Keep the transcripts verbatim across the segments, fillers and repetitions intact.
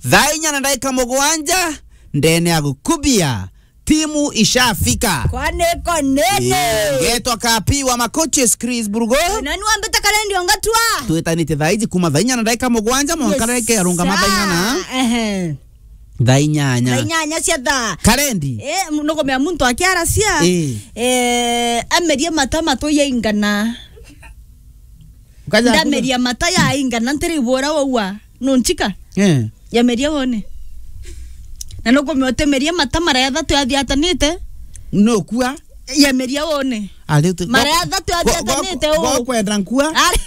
Thaa inya na ndagika mugwanja, ndene ya gukubia, timu ishafika. Kwani iko nini? Eh, ngetwa Kapi wa Makoches, Chris Burugo. Na ni wambita Karendi Ongatua. Twitanite thaa iji kuma thaa inya na ndagika mugwanja, mwanka ndagika ya rungama thaa inya na. Ehe. Thaa inyanya. Thaa inyanya cia thaa. Karendi. Eh, m-, nukumenya muntu akiaracia. Eh. Eh, amerie mata matu yaingana. Ukaja ndameria mata yaingana, ntiri ibura waua. Nunchika? Eh. Yameria wone. Na nukumenya utemeria mata mara ya thatu yathiatanite. Nukua? Yameria wone. Ari tu-, mara ya thatu yathiatanite, go-, go-, u- gokwenda nkua? Ari-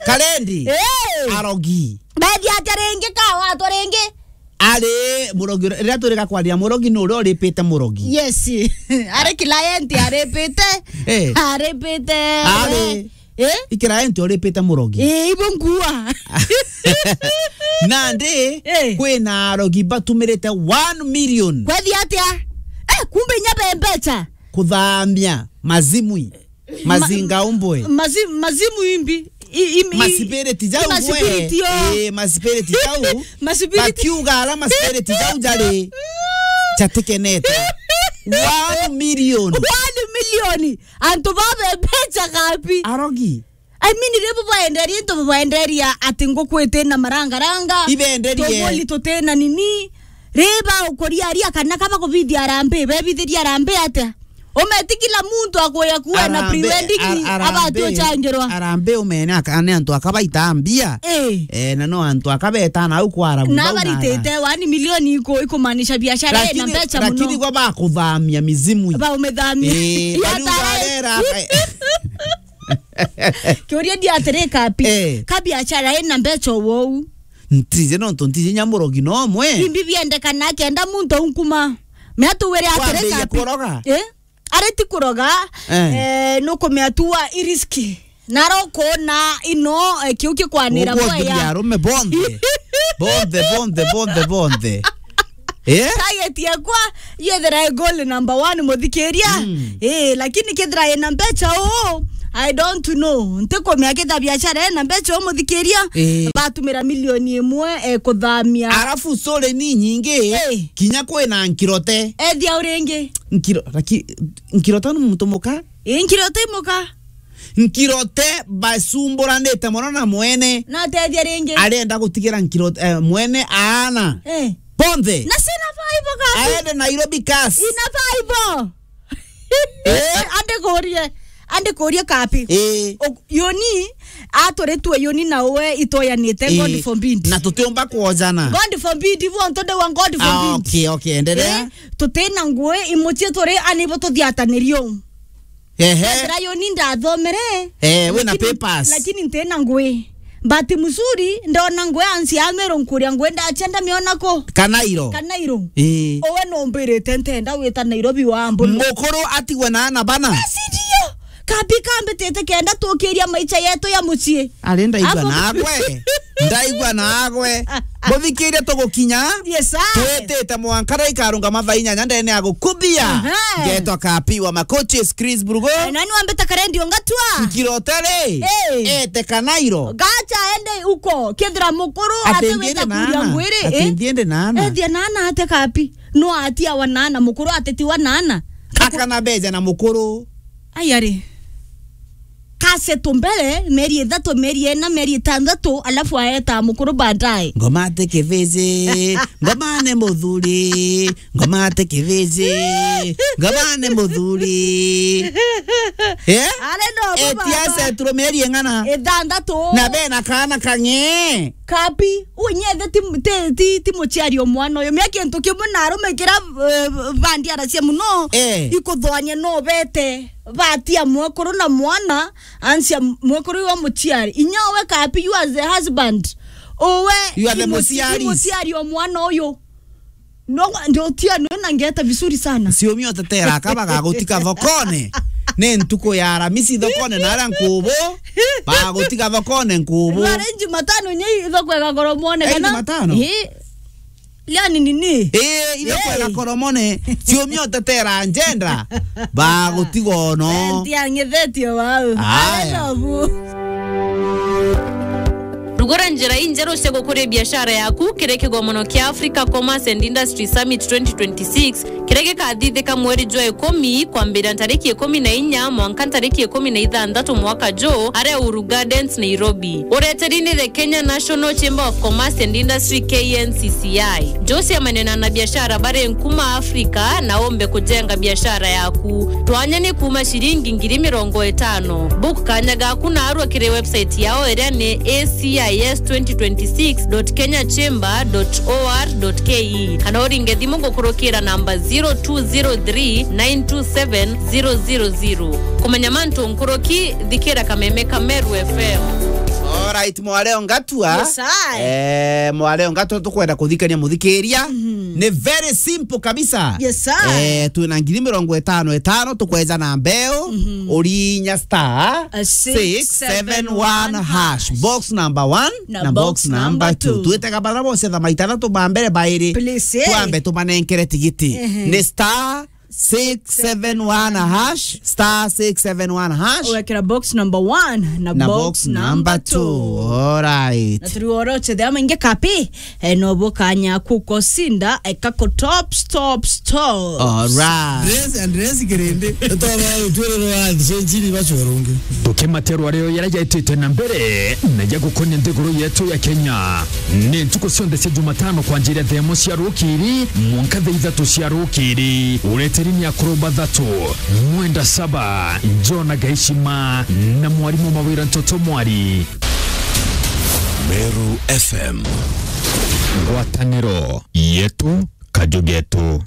Karendi. Eh. Arogi. Bethi atia ringi ka watu ringi? Ari murogi, riria turiga kwaria murogi ni uria uripite murogi. Yes. Ari client aripite. Eh. Aripite. Ari. Eh? I client uripite murogi. Eh, ibo nkua. Nandi, eh, kwina arogi batumirite one million. Kwethi atia? Eh, kumbe inya be mbecha. Kuthamia mazimwi. Ma-, mazinga umbwe. Mazi-, mazimu imbi. I-, i-, i-, masipiriti jau i masipiriti gwe. Yo. Eh, masipiriti jau. Masipiriti. Bakiuga ala masipiriti jau jari. Jatikenete. One million. One million. Antu babe mbecha Kapi. Arogi. I mean, ribu baenderia into baenderia ati nguku iti na marangaranga. Ibenderie. Tubuli tuti na nini. Riba ukuria aria kana kaba kubithia arambe, bebithiria arambe atia? Umeti kila muntu akuya kuwa na arambe, pre-wedding, ar-, arambe, abati uchangirwa. Arambe umene aka-, ni antu akabaita mbia. Eh. Eh, na no antu akabeta na au kwara na baritite one million iku-, ikumaanisha biashara ina mbecha muno. Lakini, lakini kwa bakuthamia mizimu. Ba umethamia. Eh, ya bari tara-, ugarera, eh. Kiuria ndi atiri Kapi. Eh. Ka biashara ina mbecha wou. Ntije nontu ntije nya murogi no mwe. Imbi biendekana kenda muntu unkuma. Mea tuwire atiri Kapi. Wambiririe kuroga? Eh? Ari ti kuroga, eh, eh, nukumea tu wa iriski. Naro kuona ino, eh, kiu kikwanira. Uguo mboya. Arume bonthe. Bonthe, bonthe, bonthe, bonthe. Eh? Target yakwa yethira i goal number one, muthikiria. Mm. Eh, lakini kethira ina mbecha uu, I don't know. Ntikumea ketha biashara ina mbecha uu, muthikiria. Eh. Batumira milioni imwe, eh, kuthamia. Arafu story ni nyingi, eh, kinya kwina nkirote. Ethia uringi. Nkiro-, laki-, nkirote ni muntu muka? Eh, nkirote imuka. Nkirote basumburanite mono na mwene. Na atethia ringi. Arenda gutigira Nkirote, eh, mwene aana. Eh. Bonthe. Na sina five kasi. Aende Nairobi kasi. Ina five. Eh? Ande kurie. Ande kurie Kapi. Eh. O-, yoni, aturitwe yoni na we itoyanite, eh, God forbid. Na tutiumba kwojana. God forbid, ibu onto ndewa God forbid. Ah, okay, okay, endelea. Eh, tutina ngui, imuchie turi, ani ibo tuthiatanirio. Ehe. Ethira yoni ndathomere. Eh, wina lakini, papers. Lakini ntina ngui. Bahati mzuri, ndona ngui ansi ya Meru nkuria ngui ndacha ndamiona ku? Kanairo. Kanairo. Ii. Owe numbirite ntenda wita Nairobi wa mbuno. Mukuru atigwe na ana bana. Basi ndio. Kabi kambitite kenda tukiria maicha yetu ya mucii. Ari ndaigua nagwe. Ndaigua nagwe. Muthikiria tugukinya. Yes, sir. Twitite mwanka na ikarungama thaa inyanya ndene ya gukubia. Aha. Ngetwa Kapi wa Makochi, Chris Burugo. Eh, nani wambita karendi ongatua? Nkirotele. Eh. Ete kanairo. Gacha ende uko. Kethira mukuru ati atiwita kuria ngwiri, eh? Ati ndiende na ana. Ethia na ana ate Kapi. No atia wa na ana, mukuru atetiwa na ana. Akana beja na mukuru. Ai ari. Kasetu mbere, mieri ithatu, mieri ina, mieri itandatu, alafu aeta mukuru baadaye. Ngoma ati kibiji, ngoma ni muthuri, ngoma ati kibiji, ngoma ni muthuri. Eh? Are no baba. Eti asetirwe mieri ing'ana? Ithandatu. Na bena kaana kang'e. Kapi, unyethe ti, ti, ti, ti muciari o mwana uyu. Mia kintu kimwe na arume kira, eh, bandiaracia muno, eh, ikuthoania no bete. Batia mwekuru na mwana, ansia mwekuru wa muciari. Inya we Kapi, you as the husband. Uwe, you are the muciari. Muciari o mwana uyu. No, ndio tia no na ngeta vizuri sana. Ciumia utetera aka bagagutika thokone. Ni ntuku ya Aramisi thokone na aria nkubu. Bagagutika thokone nkubu. Bara Jumatano nye ithoko igakoro mwone. Eh, kana Jumatano? Eh. Yani nini? Eh, ithoko igakoromone. Ciumia utetera njenda. Bagutigono. Eh, ntia ngethetio wau. Aya. Aya nobu. Gura njira injeru cia gukuria biashara yaku kiri kigomono kia Africa Commerce and Industry Summit twenty twenty-six, kiria gikathithika mweri jwa ikumi, kwambira ntariki ikumi na inya mwanka ntariki ikumi na ithanthatu mwaka juu, aria Uhuru Gardens, Nairobi. Ureteri ni the Kenya National Chamber of Commerce and Industry, K N C C I. Njuciamania na anabiashara bari nkuma Africa na umbe kujenga biashara yaku. Twanya ni kuuma ciringi ngiri mirongo itano. Book kanya gaku naarua kiri website yao iria ni A C I S twenty twenty-six dot kenya chamber dot O R dot K E, kana uringe thimu gukurukira namba zero two zero three nine two seven zero zero zero. Kumenya mantu nkuruki, thikira kameme ka Meru F M. Alright, mwareo ngatua. Yes, I. Eh, mwareo ngatua tukwenda kuthikania muthikiria. Ni very simple kabisa. Yes, I. Eh, twina ngiri mirongo itano itano, tukweja na mbeu, urinya star A six seven one hash. Box number one na box number two. Twitega bara bose tha maita thatu ba mbere bairi. Please, eh. Twambe tumanenkere tigiti. Ni star six seven one hash, star six seven one hash. Ugekira box number one na box number two. Alright. Na turi woroche the maingi kapi, eh, no bukanya kuko sinda, eh, kako top, top, top. Alright. Dress and dress kirindi. Toba utwere rwa so njiri bachorungi. Tukimaterwa reo yara jaitite na mbere, na jagukonia nthiguru yetu ya Kenya. Ni ntuku cionthe cia Jumatano kwanjiria thaa imwe cia rukiri mwanka thaa ithatu cia rukiri. Ureteri ni akuru bathatu, Mwenda Saba, Jona Gaishima, na mwarimu Mawira Ntoto Mwari. Meru F M. Ngwataniro yetu, kaju getu.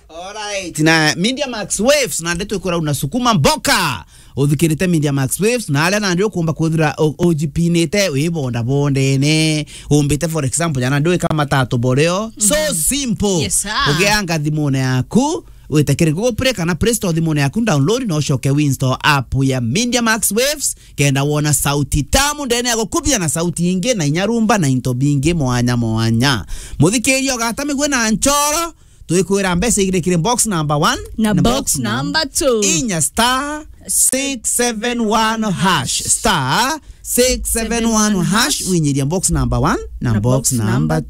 Alright. Na Media Max Waves, na ndeto ikwira unasukuma mboka. Uthikirite Media Max Waves, na aria nandi ukumba kwithira u-, ujipinite, wi bonda bondene, umbite, for example, jana ndui kama tatu boreo. So simple. Yes, sir. Ugeanga thimune yaku, wite kiri Google Play kana Play Store thimune yaku, download na ucoke winstall app ya Media Max Waves, kenda wona sauti tamu ndene ya gukubia na sauti ingi na inya rumba na into bingi mwanya mwanya. Muthikiria ugata migwe na nchoro, twikwira mbeca igiri kiri box number one na box number two. Inya star six seven one hash, star six seven one hash, winyiria box number one na box number